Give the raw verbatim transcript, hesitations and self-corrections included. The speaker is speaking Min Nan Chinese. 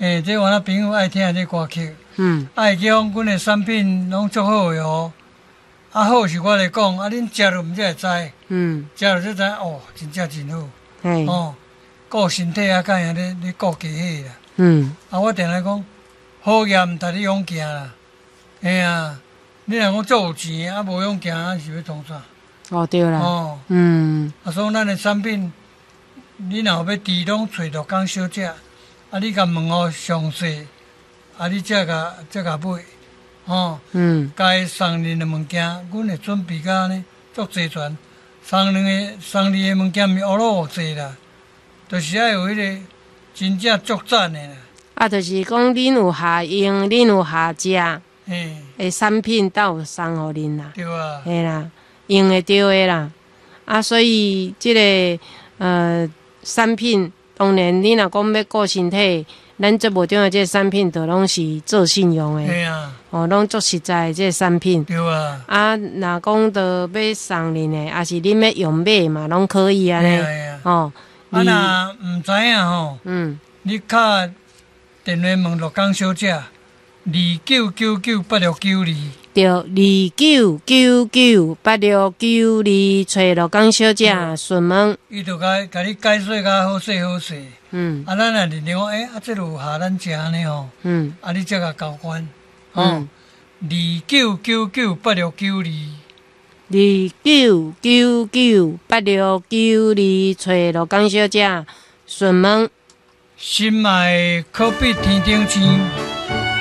欸，這我咱朋友愛聽這歌曲。嗯。愛講阮的產品攏足好的哦。啊好是我來講，啊恁食落毋才會知。嗯。食落才知哦，真正真好。嘿。哦，顧身體啊，較會咧咧顧家伙啦。嗯。啊，我定定講，好業毋值你勇行啦。嘿啊，你若講足有錢啊，無勇行啊，是欲創啥？哦，對啦。哦。嗯。啊，所以咱的產品，你若有欲佇攏揣陸江小姐，啊，你共問予詳細，啊，你才共才共買，吼。嗯。該送恁的物件，阮會準備甲按呢足齊全。送恁的送你的物件毋是烏魯烏濟啦，就是愛有彼個真正足讚的啦。啊，就是講恁有合用，恁有合食，嘿。的產品都有送予恁啦。對啊。嘿啦，用會著的啦。啊，所以這個呃產品，當然你若講欲顧身體，咱節目中的這個產品，就攏是做信用的。嘿啊。哦，攏足實在的這個產品。對啊。啊，若講著欲送恁的，抑是恁欲用買嘛，攏可以按呢。哦。啊，若毋知影吼，嗯，你敲電話問陸江小姐，二九九九八六九二。對，二九九九八六九二，揣陸江小姐詢問。伊就共共你解說甲好勢好勢。嗯。啊，咱若認定講，欸，啊，這有合咱食按呢吼。嗯。啊，你才共交關。吼。二九九九八六九二。二九九九八六九二，揣陸江小姐詢問。心愛可比天頂星。